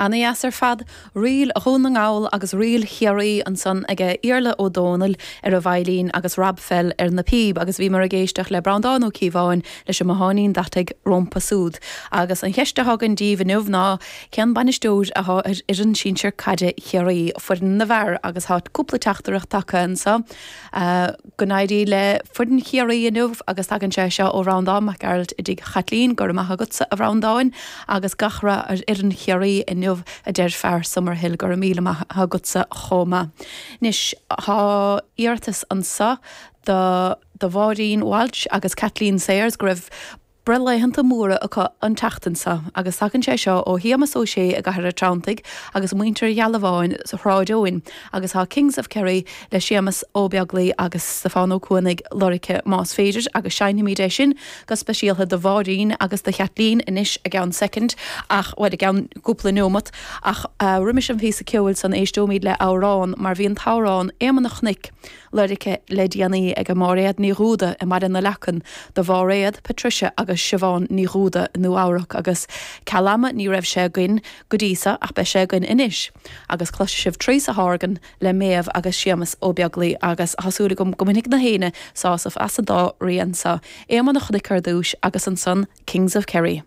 Ana dheas ar fad. Ríl Dhún na nGall agus Ríl Chiarraí ansan aige Iarla Ó Dónaill ar an veidhlín agus Rob Fell ar na píb agus bhíomar ag éisteacht le Breandán Ó Cíobháin leis an mBotháinín Deataigh rómpa súd. Agus an cheist athá againn díbh inniu ná cén bainisteoir athá ar fhoireann sinsir caide Chiarraí, foireann na bhfear agus thá cúpla teachtaireacht tagtha anso. Go n-éirí le foireann Chiarraí inniu agus tagann sé seo ó Bhreandán Mac Gearailt i dTigh Chaitlín. Go raibh maith agatsa a Bhreandáin agus gach rath ar fhoireann Chiarraí inniu a deir fear Summerhill. Go raibh míle maith agatsa chomh maith. Anois tá iarratas anso do do Mháirín Walsh agus Kathleen Sayers go raibh breithlaethanta móra acu an tseachtain seo agus tagann sé seo ó Shéamus Ó Sé i gCathair an Treanntaigh agus muintir Ghealbháin sa Shráid Eoin agus tá Kings of Kerry le Séamus Ó Beaglaoi agus Stiofán Ó Cuanaigh lorgtha más féidir agus seinnfimid é sin go speisialta do Mháirín agus do Chaitlín anois i gceann soicind ach, bhuel, i gceann cúpla neomat ach roimis an phíosa ceoil san éisteoimid le amhrán mar bhí an t-amhrán Éamonn an Chnoic lorgtha le déanaí ag Máiréad Ní Dhúda i mBaile na Leacan do Mháiréad, Patricia agus Siobhán Ní Dhúda i Nua Eabhrac agus ceal ama ní raibh sé againn go dtí so ach beidh sé againn anois agus cloisfidh sibh Teresa Horgan le Méabh agus Séamus Ó Beaglaoi agus tá súil agam go mbainfidh na héinne sásamh as an dá rian so, Éamonn an Chnoic ar dtúis agus ansan Kings of Kerry.